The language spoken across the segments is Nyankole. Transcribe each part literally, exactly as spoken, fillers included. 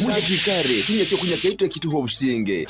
Muje twikare tunywe ekyokunywa kyaitu ekituha obusinge.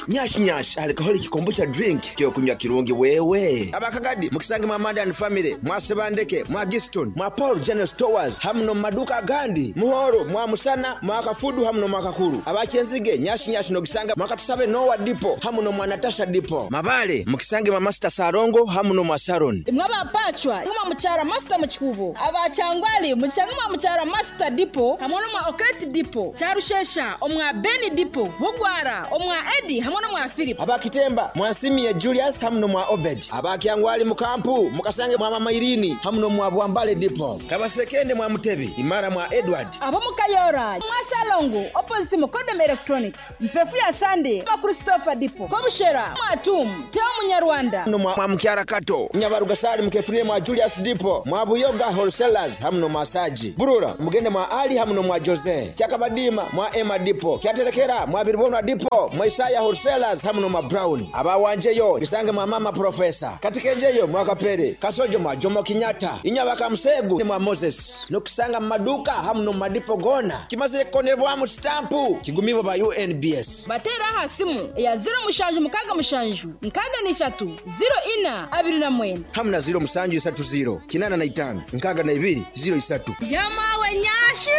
Nyash Nyash alcoholic kombucha drink kyokunywa kirungi wewe. Abakagadi mukisange mwa Amanda and Family, mwa Sebandeke, mwa Giston, mwa Paul General Stores hamu no maduka agandi. Muhoro, mwa Musana, mwa Kafudu hamu no mwa Kakuru. Abakyenzige Nyash Nyash nogisanga mwa Katusabe Noah Depot hamu no mwa Natasha Depot. Mabale mukisange mwa Master Sarongo hamu no mwa Saron. Imwe abapachwa mwa mukyara Master mu Kikubo. Abakyangwali mukisange mwa mukyara Master Depot hamwe no mwa Oketi Depot. Kyarushesha omwa Beni Depot. Bugwara omwa Edi hamwe no mwa Philip. Abakitemba mwasimie Julius hamu no mwa Obed. Abakyangwali mukampu mukasange mwa Mama Irini hamu no mwa Bwambale Depot. Kabasekende mwa Mutebi imara mwa Edward. Abo mukayora mwa Salongo opposite Mukodom Electronics. Mpefu ya Sunday mwa Christopher Depot. Kobushera mwa Tum Teo Munyarwanda. No mwa Mukyara Kato. Nyabarugasali mukefunire mwa Julius Depot. Mwa Buyoga Wholesalers hamu no mwa Saji. Burura mugende mwa Ali hamu no mwa Jose. Kyakabadima mwa Emma Depot. Kyaterekera mwa Biribonwa Depot. Mwa Isaya Wholesalers hamu no mwa Brown. Abawanjeyo bisange mwa Mama Professor. Katikenjeyo mwa Kapere. Kasojo mwa Jomo Kenyatta. Inyabaka Musegu mwa Moses. Nokusanga mu maduka hamu no madipo gona. Kimaze kukonebwamu stampu kigumibo ba U N B S. Batera aha simu ya zero mushanju mukaga mushanju nkaga nishatu zero ina abiri na mwenda hamu na zero musanju isatu zero kinana na itano nkaga na ibiri zero isatu. Yamawe nyashi.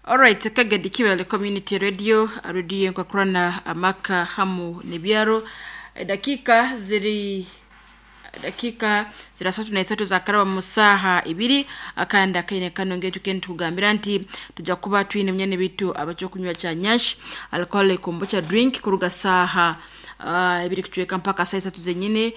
Alright, Kagadi Kiwele Community Radio, radio nkwakurana amaka hamu nebyaro. Dakika ziri dakika zirasatu na isatu za karaba musaha ibiri akanda kaine kano ngetu kentu kugambira nti tuja kuba twine mnyene bitu abacho kunywa cha nyash alcohol kombucha drink kuruga saha uh, ibiri kuchweka mpaka saa isatu zenyine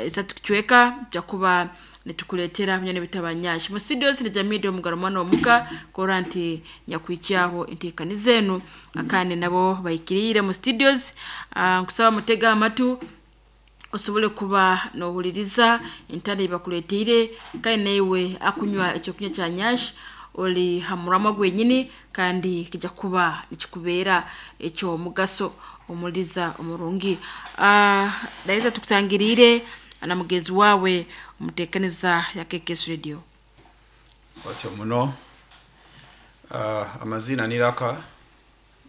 isatu kuchweka tuja kuba nitukuletera mnyene bitu abanyash mu studios ni jamii do mugaro mwana omuka koranti nyakwichaho intekani zenu akande nabo bayikirire mu studios. uh, nkusaba mutega amatu osobole kuba nohuliriza entale bakuleteire kandi naiwe akunywa ekyokunywa kya nyash oli hamurama gwenyini kandi kijja kuba nikikubeera ekyo mugaso omuliza omurungi. Uh, daita tukutangirire na mugenzi wawe omuteekaniza ya K K S Radio. Otyo muno uh, amazina niraka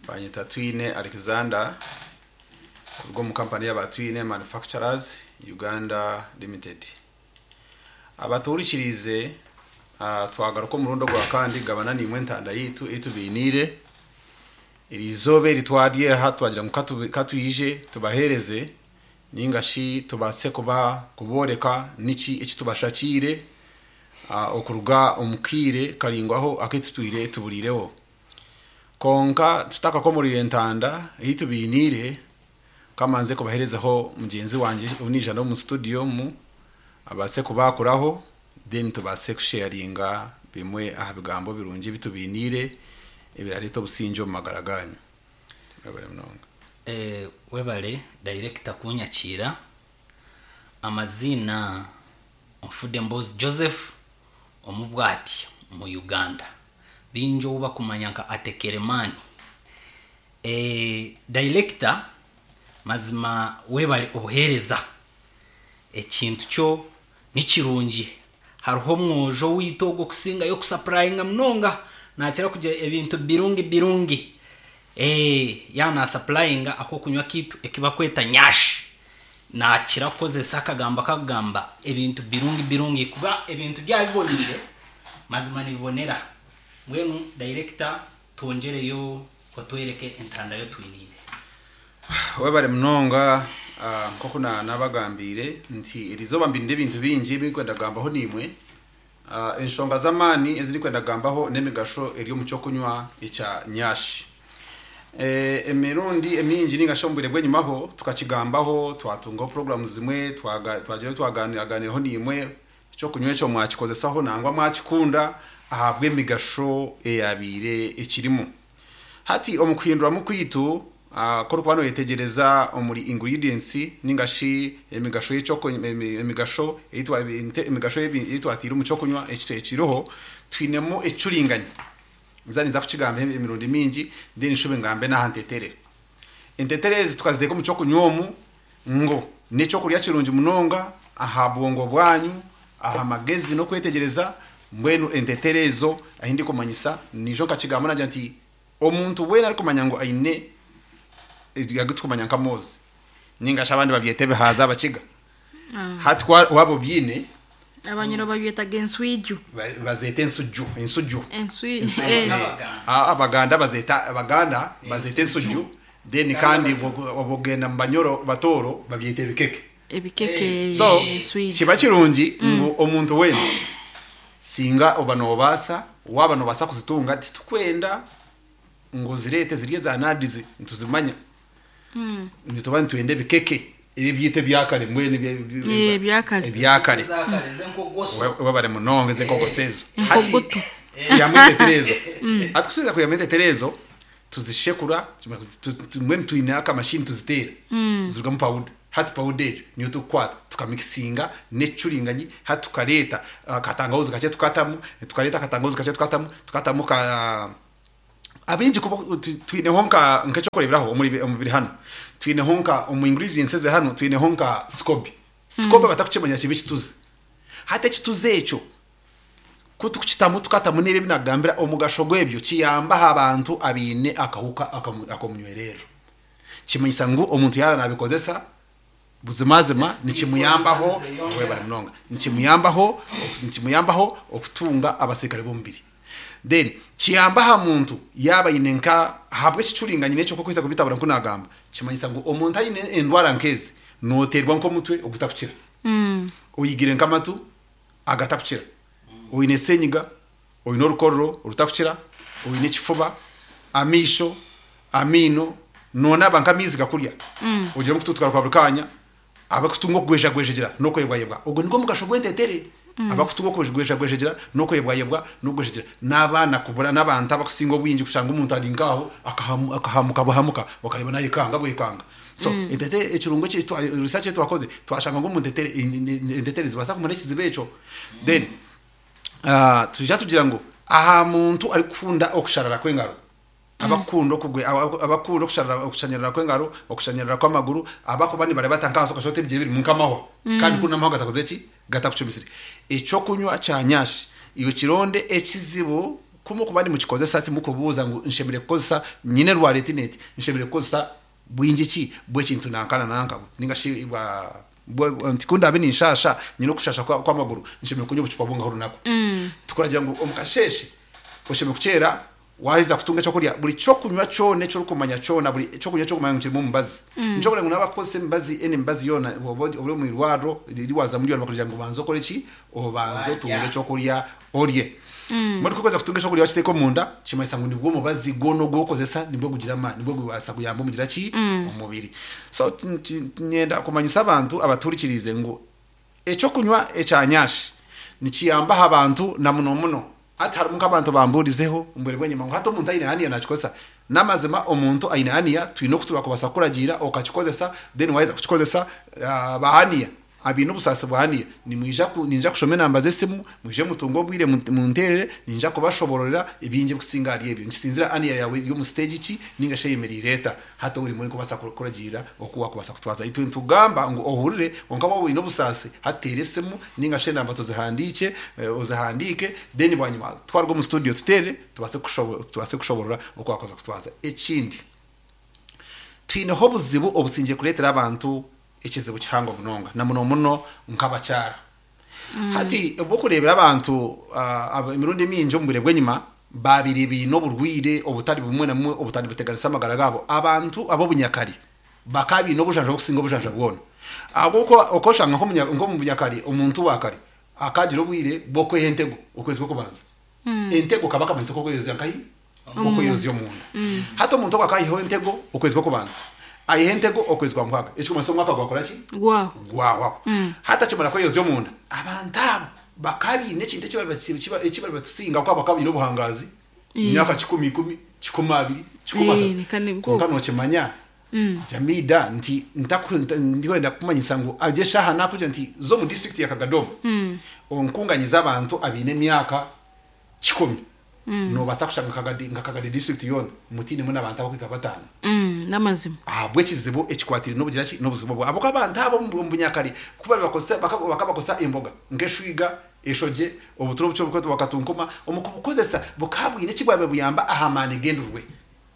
banyita Twine Alexander kuruga mu kampani y'aba Twine Manufacturers Uganda Limited. Abaturikirize uh, twagaruka murundo gwa kandi gabana nimwe ntanda yitu itubinire irizobe ritwadye ha twagira mu katuyije tubahereze ningashi tubase kuba kuboreka niki ekitubashakire uh, okuruga omukire karingwaho akitutwire tuburireho konka tutaka ko muri ntanda itubinire kamanze kubaherezaho mugenzi wanje unija no mu studio mu abase kubakuraho then tubase kusharinga bimwe aha bigambo birungi bitubinire ebirarito businjo mu magaraganyo. Webale mnonga. Eh webale director kunyakira amazina Mfude Mbozi Joseph omubwati mu Uganda binjo uba kumanya nka atekeremani. Eh director mazima webale obuhereza ekintu cyo nikirungi hariho mwojo witogo kusinga yo kusupplyinga mnonga nakira kujya ebintu birungi birungi eh yana supplyinga ako kunywa kitu ekibakweta nyash nakira kozesa akagamba kagamba ebintu birungi birungi kuba ebintu byabibonire mazima nibibonera. Mwenu director tongereyo otwereke entanda yo twinire. Webale mnonga uh, nkoko na nabagambire nti erizoba mbinde ebintu bingi bikwenda gambaho nimwe uh, enshonga zamani eziri kwenda gambaho nemigasho eri mu cyo kunywa echa nyashi eh emirundi emingi ninga shombire bwenyumaho tukakigambaho twatunga programs zimwe twaga twagira twaganira ganiraho nimwe cyo kunywa cyo mwakikozesaho nangwa mwakikunda ahabwe emigasho eyabire ekirimo hati omukwindura mu kwitu Uh, koro kwano yetegereza omuri ingredients ningashi emigasho y'icoko emigasho eyitwa emigasho eyitwa atira umucyo kunywa ekiroho twinemo ecuringanya nzani za kukigambe emirundi mingi then nshube ngambe nahantetere entetere tukazideka umucyo kunywa ngo neco kurya kirungi munonga aha bwongo bwanyu aha magezi no kwetegereza Mbwenu entetere ezo ahi ndikumanyisa nijo nkakigamba nagira nti omuntu weena arikumanya ngu aine agitukumanya nka mozi ningashi abandi babyeta ebihaza abakiga. Hati kwa- waba obyine Abanyoro babyetaga enswiju. ba- bazeta ensuju ensuju. Enswiju, eh. Ah, abaganda bazeta, abaganda bazeta ensuju, then kandi obugenda mu banyoro batoro babyeta ebikeke. Ebikeke. So enswiju. Kiba kirungi ngu omuntu weena singa oba nobaasa, waba nobaasa kuzitunga, titukwenda ngu zirete zirye za nadizi ntuzimanya, nituba nitwenda ebikeke ebi byita ebyakare mbwenu ebya- Eh, ebyakare. Ebyakare. Zakare zenkogoso. We- webare munonga ezenkogoso ezo. Enkogoto. Tuyamu entetere ezo. Hati kusubiza kuyamu entetere ezo, tuzishekura, tu- tu- mbwenu twine akamashini tuziteera, zirugamu pawuda. Hati pawuda egyo niyo tukukwata tukamikisinga n'ekicuringanyi. Hati tukareeta akatangawuzi kakye tukatamu, tukareeta akatangawuzi kakye tukatamu, tukatamu ka abingi kuba tu- twineho nka nk'ekyokureeberaho omuri omubiri hano twineho nka omu ingredients eze hano twineho nka scoby scoby batakukimanya kibi kituzi. Hati ekituzi ekyo kutukitamu tukatamu n'ebyo ebinagambira, omugasho gwebyo kiyambaho abantu abiine akahuka akamu- akomunywerero. Kimanyisa ngu omuntu yaba nabikozesa buzimazima nikimuyambaho, webare munonga, nikimuyambaho nikimuyambaho okutunga abasirikare b'omubiri. Then kiyamba aha muntu yaba aine nka habwe ekicuringanye n'ekyo kukweza kubitabura nkunagamba. Kimanyisa ngu omuntu aine endwara nk'ezi, noterwa nk'omutwe ogutakukira, oyigire nk'amatu agatakukira, oine senyiga, oine orukororo orutakukira, oine ekifuba, amiisho, amiino, nonaba nk'amaizi gakurya, ogiremu kututukara kwa buri kanya, abakutunga okugwejagwejegyera n'okwebwayebwa. Ogwo nigwo mugasho gw'entetere. Abakutunga okugwejagwejegyera n'okwebwayebwa n'okugwejegyera n'abaana kubura n'abantu abakusinga obwingi kushanga omuntu ari nkaho akahamu- akahamuka buhamuka, okareba nayekanga bwekanga. So entetere ekirungo eki twa- research etwakoze twashanga ngu omu ntetere entetere zibaasa kumara ekizibu ekyo. Then ah, tuja tugira ngu aha muntu arikukunda okusharara kw'engaro, abakunda okugwe aba- abakunda okusharara, okushanyarara kw'engaro, okushanyarara kw'amaguru, abakuba nibareba nkaso kashota ebigyere biri nkamahwa, kandi kuna amahwa gatakoze ki gatakucumisire, ekyokunywa kya nyashi iyo kironde ekizibu kumu kuba nimukikozesa timukubuuza ngu nshemere kukozesa nyine rwara eti neti, nshemere kukozesa bwingi ki bw'ekintu nankana nankabo ninga shi bwa bwa- nti kundabe ninshasha nyine okushasha kwa- kw'amaguru, nshemere kunywa obucupa bungaho orunaku. Tukuragira ngu omukasheshe oshemere kukyera waheza kutunga ekyokurya, buri kyokunywa kyona ekyorikumanya kyona, buri ekyokunywa kyokumanya ngu kirimu omubazi, nikyo ngu nabakukozesa emibazi, eni emibazi yoona oba ori omu irwariro riwaza muri yona bakugira ngu banza okore ki, obanze otunge ekyokurya orye. Muri kukozesa kutunga ekyokurya wakiteeka omunda, kimanyisa ngu nibwo omubazi gwona ogwokozesa nibwo gugira amaani, nibwo gubaasa kuyamba omugira ki omubiri. So ti- ti- nyenda kumanyisa abantu abaturikirize ngu ekyokunywa ekyanyashi nikiyambaho abantu na muno muno. Ati harimu nk'abantu bamburizeho mbwere bwenyuma ngu hati omuntu aine aniya nakikozesa. N'amazima omuntu aine aniya twine okutura kubasa kuragiira okakikozesa. Then waheza kukikozesa, ah, bahaniya abiine obusaasi bwa aniya nimwija ku- ninja kushoma enamba z'esimu, mwije mutunge obwire mu- munterere, ninja kubashobororera ebingi ebikusinga ahari ebyo nkisinzira aniya yawe eri omu stage ki ninga shi eyemeriire eta. Hati ori muri kubasa kuragiira oku wakubasa kutwaza. Itwe nitugamba ngu ohurire, konka waba oine obusaasi hateera esimu ninga shi enamba tuzihandiike, eh, ozihandiike, then bwanyima twaruga omu studio tuteere tubase kushobo- tubase kushoborora oku wakubaasa kutwaza. Ekindi, twineho obuzibu obusingiye kureetera abantu ekizibu kihango munonga na muno muno nk'abakyara. Hati obwokureebera abantu ah, aba- emirundi mingi omu bwire bw'enyima babiri biine oburwire obutari bumwe na bumwe obutari buteganisa amagara gaabo. Abantu ab'obunyakari bakaba biine obujanja obukusinga obujanja bwona, ahabw'okuba okoshanga nk'omunya- nk'omu bunyakari omuntu wa kare akagira obwire bw'okweha entego okwezi kw'okubanza. Entego kaba akamanyiso k'okweyozya nkahi k'okweyozya omunda. Hati omuntu ogwo akayihaho entego okwezi kw'okubanza, ayiha entego okwezi kwa mukaaga, ekikumanyisa omwaka gwakora ki Gwaho. Gwawaho. Hati akimara kweyozya omunda, abantu abo bakaba biine ekintu ekibari bati- kiba- ekibari batusinga kuba bakaba biine obuhangazi myaka kikumi ikumi, kikumi abiri, kikumi Eh, asatu. nika nibwo. Konka nokimanya jamida nti ntaku- nta- ndikwenda kumanyisa ngu agye eshaha nakugira nti zo mu district ya Kagadoma onkunganyiza abantu abiine emyaka kikumi, nobaasa kushanga Kagadi- nka Kagadi district yoona mutinemu n'abantu abakwika bataano. Mm, n'amazima. Ahabwa ekizibu ekikwatire n'obugira ki n'obuzibu bwa aboko abantu abo omu bunyakare kuba bakosa bakabakosa emboga nk'eshwiga. Eshoje obuturo bucho bukwetwa bakatunkuma omukubukozesa bukabwine kibwabe buyamba ahamani gendurwe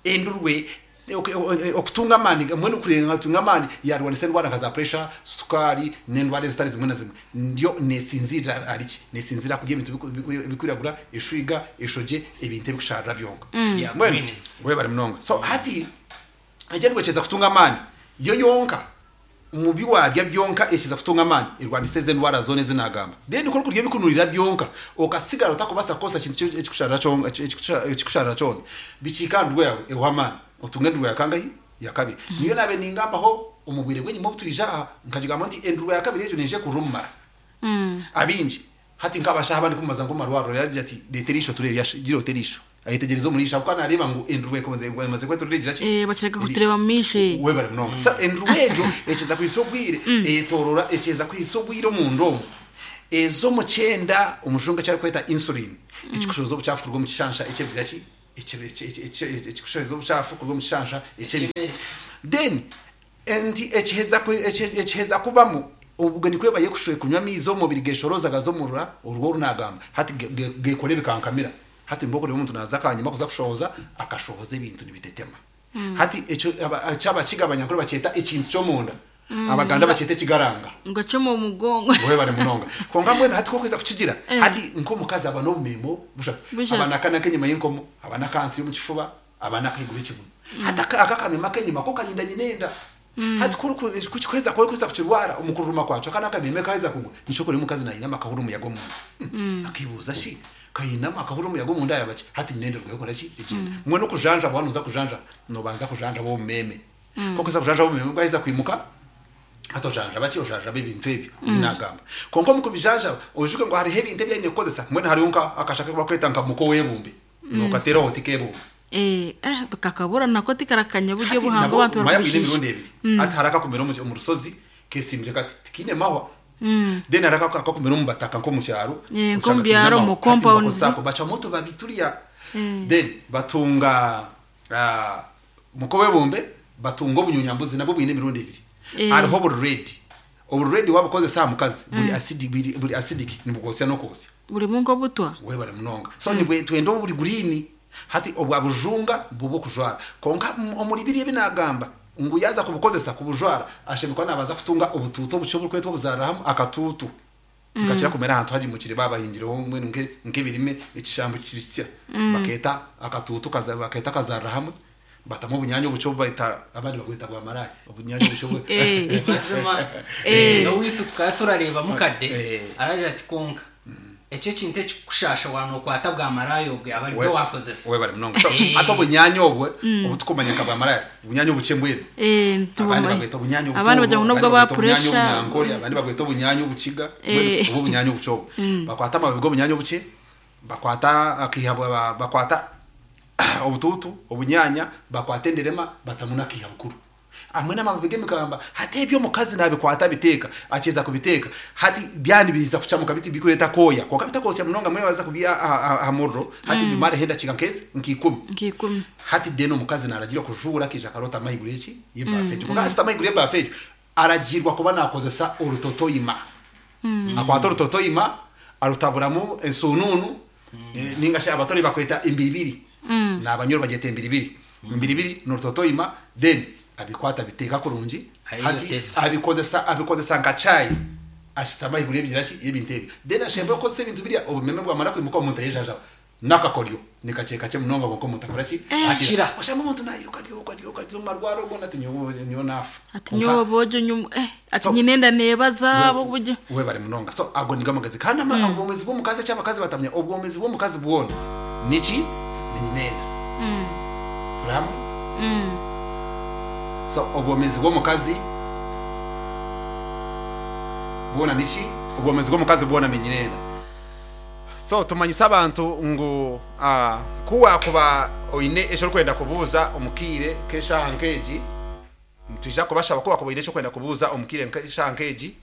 endurwe okutunga amani mwene kurenga tunga amani yarwanisa endwara nka za pressure, sukari n'endwara ezitari zimwe na zimwe. Ndyo nesinzira ariki nesinzira kurya ebintu bikwiragura, eshwiga, eshoje, ebintu ebikusharira byonka. Yeah, greens. We bari munonga. So hati egendwe cheza kutunga amani yo yonka mubi warya byonka eshiza kutunga amani erwanisa endwara zone zinagamba. Then ko kurya bikunurira byonka okasigara utakubasa kosa kintu ekikusharira kyonka ekikusharira kyona bikikandwe yawe ehwamani otunga endurwa yakangahi yakabiri. Niyo nabe ningambaho omubwire bwenyi mo butwija nkagigamba nti endurwa yakabiri ejo neje kurumara Mm. Abinji hati nkabasha abandi kumaza ngo marwaro yaje ati leterisho turebe gira oterisho ayitegereza omurisha kuko nareba ngo endurwa ekoze emaze kweturira ki Eh baceka kutureba mishe we bari munonga. Sa endurwa ejo echeza kwisogwire etorora echeza kwisogwire mu ndomo ezo mucyenda umushunga cyari kweta insulin ekikushoza obuchafu kurwo mu kishansha echebira ki ekikushoza obuchafu kurwo mu kishansha echebira. Then enti echeza echeza kubamu ubwo nikwe baye kushoye kunywa mizo omubiri geshoroza gazomurura urwo runagamba hati gekore bikankamira hati mboko ryo umuntu naza kanyuma kuza kushoza akashoza ebintu nibitetema. Hati echo cyaba kigabanya kuri baketa ikintu cyo munda abaganda bakete kigaranga ngo cyo mu mugongo we bari munonga konga mbwe hati kokweza kukigira hati nko mukazi aba no bumemo bushaka abana kana kenyuma y'inkomo abana kansi yo mu kifuba abana kigura ikibuno hati akakamema kenyuma ko karinda nyinenda hati kuri kukikweza kuri kweza kukirwara umukuruma kwacho kana kameme kaza kugwa nico kuri mukazi na inama kahuru umuyago mu akibuza shi kayinama kahuru umuyago mu ndaya bace hati nyinenda rwekora ki igenda mwe no kujanja banuza kujanja no banza kujanja bo meme koko za kujanja bo meme bwaheza kwimuka ato janja bati ojanja bibintu ebyo nagamba konko mukubijanja ojuke ngo hari hebintu byane kozesa mwene hari unka akashaka bakweta nka muko webumbe nokatera hotikebo eh eh kakabura nako tikarakanya buryo buhango abantu barabishisha imirundi ebiri ati haraka kumera mu rusozi kesimbire kati tikine mahwa then haraka akakumera mu bataka nko mu cyaro nko mu byaro mu compound sako bacha moto babituriya then batunga muko webumbe batunga obunyunyambuzi nabwo bwine imirundi ebiri ariho buri red ubu red wabukoze saa mukazi buri acid buri acidic nibugosya no kosya buri mungo butwa we bari munonga so nibwe twendo buri green hati obwa bujunga bubo kujwara konka omuri biriye binagamba ngo yaza kubukozesa kubujwara ashemekwa nabaza kutunga ubututo bucyo bukwetwa buzaraham akatutu ngakira kumera ahantu haji mukire babahingireho mwe nke nkebirime ikishambo kirisya baketa akatutu kaza baketa kazaraham batamo obunyanyo bucyo baita abandi bagweta bwa marayi obunyanyo bucyo eh mazima eh no witu tukaya turareba mukade araje ati konka ecyo kintu ekikushasha wano kwata bwa marayi obwe abari bwo wakozesa we bari munonga so ato bunyanyo obwe obutukumanya ka bwa marayi bunyanyo buce mbwene eh abandi bagweta bunyanyo abandi bajya nubwo ba pressure abandi bagweta bunyanyo buciga ubu bunyanyo bucyo bakwata amababi go bunyanyo buce bakwata akihabwa bakwata obututu obunyanya bakwatenderema batamuna kihabukuru amwe n'amababi gemikamba hati ebyo mukazi nabikwata biteka acheza kubiteka hati byani biza kucamuka biti bikureta koya konka bitakosya munonga muri baza kubya hamurro hati mm. bimare henda chika nkezi nkikumi nkikumi hati deno mukazi naragira kujura kija karota mahigure iki yebafejo mm. konka asita mahigure yebafejo aragirwa kuba nakozesa urutotoyima mm. akwata urutotoyima arutaburamu ensununu mm. ninga sha abatori bakweta imbiribiri mm. nabanyoro bageta imbiribiri imbiribiri n'urutotoyima then abikwata biteka kurungi hati abikozesa abikozesa nka chai ashitama igure byirashi ebintu ebi then ashembe ko se bintu birya obumeme bwamara kwimuka omuntu yejaja nakakoryo nikacheka che munonga ngo omuntu akora ki akira oshamba omuntu nayiruka ryoka ryoka ryo marwaro gona ati nyobo nyo nafu ati nyobo bojo nyum eh ati nyinenda nebaza bo buryo we bari munonga so ago nigamagazi kandi ama obwomezi bwo mukazi cy'abakazi batamya obwomezi bwo mukazi bwona niki ni nyinenda mm turahamwe mm so obwomezi bw'omukazi bwona niki obwomezi bw'omukazi bwona minyinenda so tumanyisa abantu ngu uh, kuwa kuba oine ekyo kwenda kubuuza omukiire keshaha nkeegi twija kubashaba kuba kuba oine ekyo kwenda kubuuza omukiire keshaha nkeegi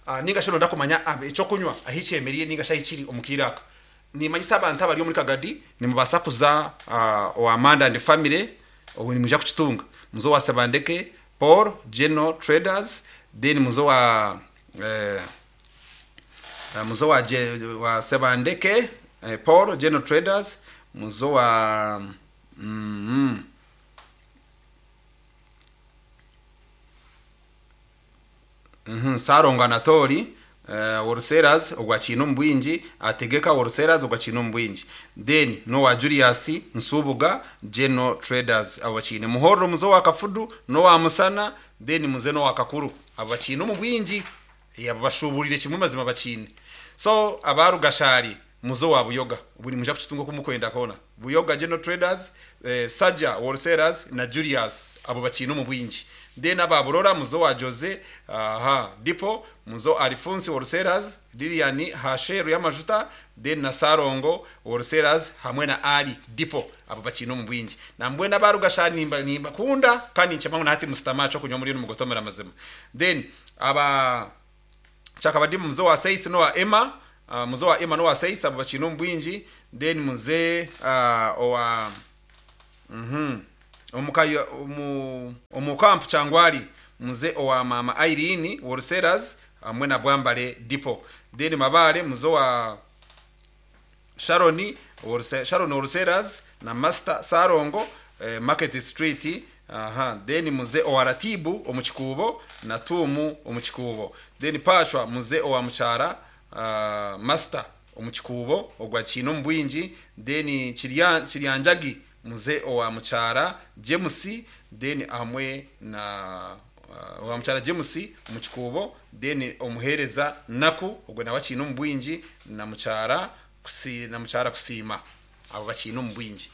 uh, ninga shino ndakumanya ekyokunywa ahikyemeriye ninga shahikiri omukiire aka nimanyisa abantu abari omuri Kagadi nimubasa kuza uh, owa Amanda and family obu nimuja kukitunga muzo wa Sebandeke Paul General Traders then muzo wa eh, uh, muzo wa, Je, wa Sebandeke eh, Paul General Traders muzo wa mm, mm, mm, Sarongo Anatori uh, Wholesalers ogwa Chino Mbwingi ategeka Wholesalers ogwa Chino Mbwingi then no wa Julius Nsubuga General Traders abo bakine Muhoro muzo wa Kafudu no wa Musana then muze no wa Kakuru abo bakine mu bwingi yabo bashuburire kimwe mazima bakine so abarugashari muzo wa Buyoga buri muja kukitunga kumukwenda kona Buyoga General Traders eh, Saja Wholesalers na Julius abo bakine mu bwingi then ababurora muzo wa Jose aha Dipo muzo Alphonse Wholesalers Lilian Hasheru y'amajuta then na Sarongo Wholesalers hamwe na Ali Dipo abo bakino mu bwingi nambwe n'abarugasha nimba nimba kunda kandi nchama na hati mustamacho kunywa muri mugotomera mazima then aba chakabadimu muzo wa Seis no wa Emma uh, muzo wa Emma no wa Seis abo bakino mu bwingi then muze uh, owa mhm omukayo omu omukampu changwali muze owa mama Irene Wholesalers hamwe na Bwambale Dipo then mabale muzo wa Sharoni Wholesale Sharon Wholesalers na Master Sarongo eh, Market Street aha then muze owa Ratibu omukikubo na Tumu omukikubo then Pachwa muze owa Muchara uh, Master omukikubo ogwa Chino Mbwingi then Kirya Kiryanjagi muze owa Muchara James then amwe na uh, owa Muchara James omukikubo then omuhereza naku ogwe nawe Chino Mbwingi na Muchara kusi na Muchara kusima abo bakino mbwingi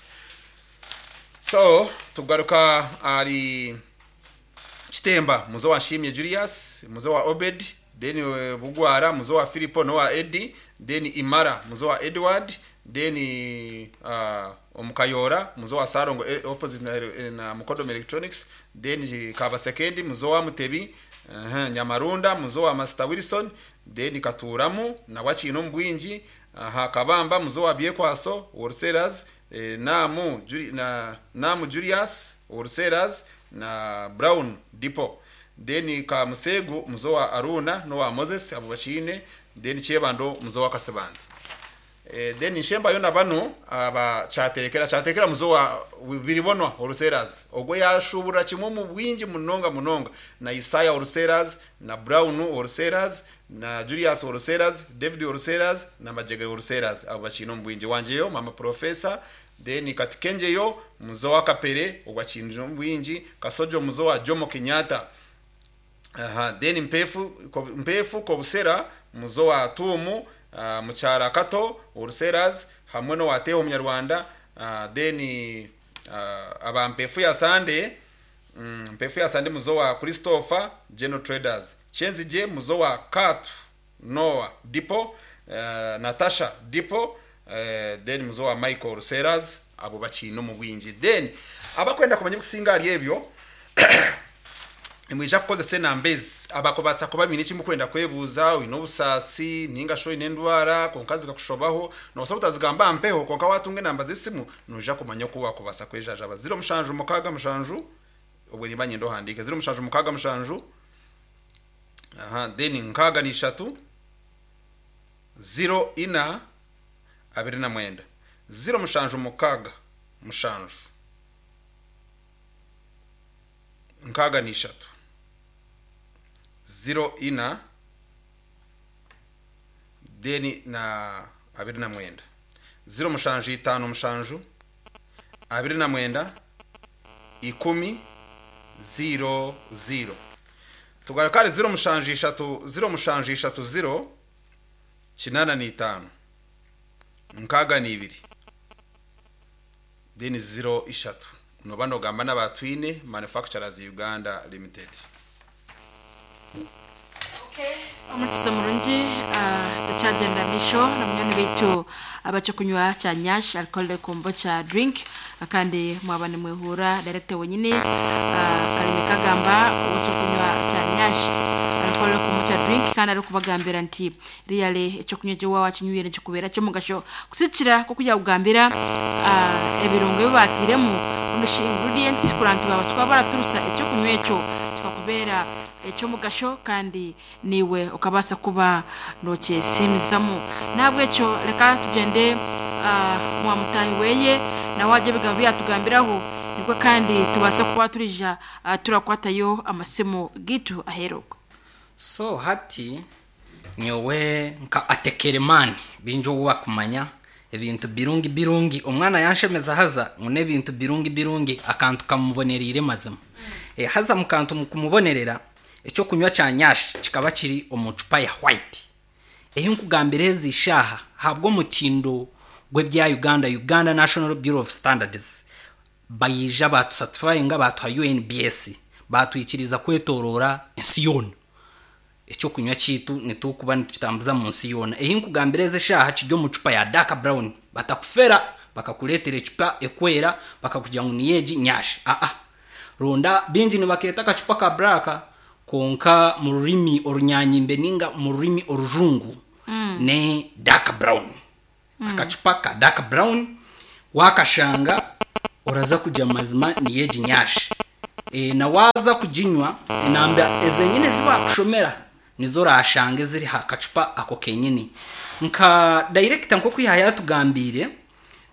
so tugaruka ari Kitemba muzo wa Shimye Julius muzo wa Obed then eh, Bugwara muzo wa Filipo no wa Eddie then Imara muzo wa Edward then uh, Omukayora muzo wa Sarongo eh, opposite na, eh, na Mukodom Electronics then Kabasekendi muzo wa Mutebi uh, Nyamarunda muzo wa Master Wilson then Katuramu na Wachino Mbwingi aha Kabamba muzo wa Byekwaso Wholesalers eh, Namu Juli, na Namu Julius Wholesalers na Brown Depot then Kamusegu muzo wa Aruna no wa Moses abo bachine then Chebando muzo wa Kasebandi eh, then nshemba yona bano aba chatekera chatekera muzo wa biribonwa Wholesalers ogwe yashubura kimwe mu bwingi munonga munonga na Isaiah Wholesalers na Brown Wholesalers na Julius Wholesalers David Wholesalers na Majege Wholesalers abo bachino mu bwingi wanjeyo mama professor then katikenjeyo muzo wa Kapere ogwa chinjo mu bwingi Kasojo muzo wa Jomo Kenyatta aha then mpefu ko, mpefu kobusera muzo wa Tumu uh, muchara Kato Wholesalers hamwe no wateho munyarwanda uh, then uh, aba mpefu ya Sande mm, mpefu ya Sande muzo wa Christopher General Traders Chenzije muzo wa Katu Noah Dipo uh, Natasha Dipo uh, then muzo wa Michael Wholesalers abo bakino mu bwingi then abakwenda kumanya kusinga ari ebyo nimwija kukozesa enamba ezi abakobasa kuba biine ekimukwenda kwebuuza oine obusaasi ninga shi oine endwara konka zikakushobaho nobusa butazigamba mpeho konka watunga enamba z'esimu noija kumanya oku wakubasa kwejajaba ziro mushanju mukaaga mushanju obwe nimba nyenda ohandiike ziro mushanju mukaaga mushanju aha then nkaaga n'ishatu ziro ina abiri na mwenda ziro mushanju mukaaga mushanju nkaaga n'ishatu ziro ina then na abiri na mwenda ziro mushanju itano mushanju abiri na mwenda ikumi ziro ziro tugaruka ari ziro mushanju ishatu ziro mushanju ishatu ziro kinana n'itano nkaaga n'ibiri then ziro ishatu noba nogamba n'abatwine Manufacturers Uganda Limited Omukisa murungi uh, tukyagenda misho na munyoni baitu abacokunywa kya nyash alcohol kombocha drink kandi mwaba nimwehura director wenyine uh, kalimi kagamba ocokunywa kya nyash alcohol kombocha drink kandi ari kubagambira nti riyale ecokunywa gyo wakinywire nikikubeera kyomugasho kusikira kokujya kugambira uh, ebirungo ebi batiremu ingredients kuranti babaswa baraturusa ecokunywa ekyo kikakubera Nikikubeera ekyomugasho kandi niwe okabasa kuba nokyesimizamu. Nahabwekyo reka tugende uh, mwa mutahi weye nawe ajya ebigambo byatugambiraho, nikwe kandi tubase kuba turija uh, turakwatayo amasimu gitu aheruka. So hati nyowe nka atekeremani bingi obu bakumanya ebintu birungi birungi, omwana yanshemeza haza ngu n'ebintu birungi birungi akantu kamubonereire mazima. E, haza mukantu mukumubonerera ekyokunywa kya nyashi kikaba kiri omu cupa ya white. Ehi nkugambira ezi shaha habwo omutindo gw'ebya Uganda, Uganda National Bureau of Standards, bayija batusatisfyinga, batuha U N B S, batwikiriza kwetorora ensi yoona. Ekyokunywa kitu nitukuba nitukitambuza mu nsi yoona. Ehi nkugambira ezi shaha kiri omu cupa ya dark brown, batakufera bakakuleetera ecupa ekwera bakakugira ngu niyeegi nyashi. Aa ronda bingi nibakeeta akacupa ka black, konka mu rurimi orunyanyimbe ninga mu rurimi orujungu mm. ne dark brown. Mm. Akacupa ka dark brown wakashanga oraza kujya mazima niyeegi nyashi. E, na waza kujinywa enamba ezenyine zibakushomera nizo rashanga ziri ha kacupa ako kenyini. Nka director nko kwihaya yatugambire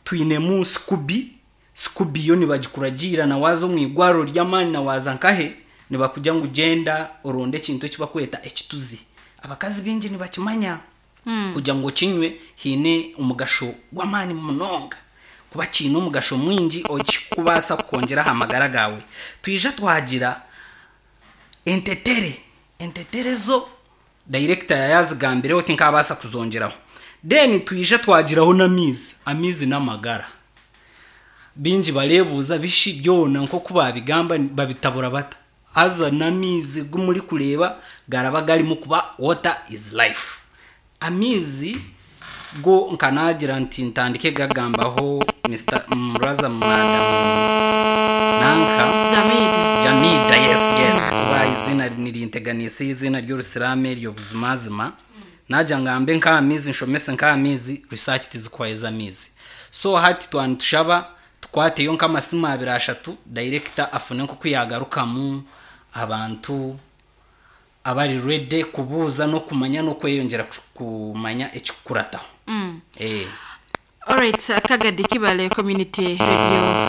twinemu Scooby, Scooby yo nibagikuragira na wazo mu igwaro ry'amani na waza nkahe nibakuja ngu genda oronde ekintu ekibakweta ekituzi. Abakazi bingi nibakimanya mm. kuja ngo kinywe hine omugasho gw'amani munonga, kuba kiine omugasho mwingi okikubasa kukongera amagara gawe. Twija twagira entetere, entetere zo director yazigambireho tinkabasa kuzongeraho. Then twija twagiraho n'amizi, amizi n'amagara. Bingi barebuza bishi byona nko kubabigamba babitabura bata. Haza n'amizi gumuri kureba garaba garimo kuba water is life. Amizi go nkanagira nti ntandike gagambaho Mister Muraza Madam Nanka Jamida. Jamida, yes yes, kuba izina nirinteganisa izina ry'Orusirame ryo buzimazima. Naja ngambe nk'amizi nshomese nk'amizi research tizikwaeza amizi. So hati twantushaba tukwateyo nk'amasimu abiri ashatu director afune nko kuyagarukamu abantu abari ready kubuuza no kumanya no kweyongera kumanya ekikurataho. Mm. Eh. Alright, Kagadi Kibale Community Radio.